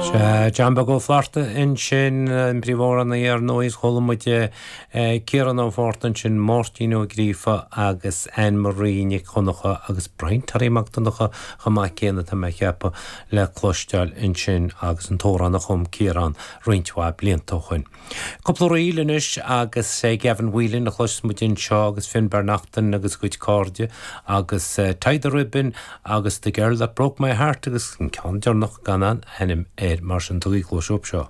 Sea, John Beag Ó Flatharta ansin, an príomhamhránaí ar ndóigh, is chuala muid Ciarán Ó Fátharta ansin, Máirtín Ó Gríofa agus Anne Marie Nic Dhonncha agus Brian Toraí Mac Donncha chomh maith céanna, tá mé a cheapadh, le cloisteáil ansin agus an t-amhrán a chum Ciarán roinnt mhaith blianta ó shoin. Cúpla ríl anois agus Gavin Whelan a chloisfeas muid anseo agus Finbar Naughton agus a gcuid cairde agus Tie the Ribbon agus The Girl That Broke My Heart agus an ceann deireanach gan aon ainm air mar sin tugaigí cluas dóibh seo.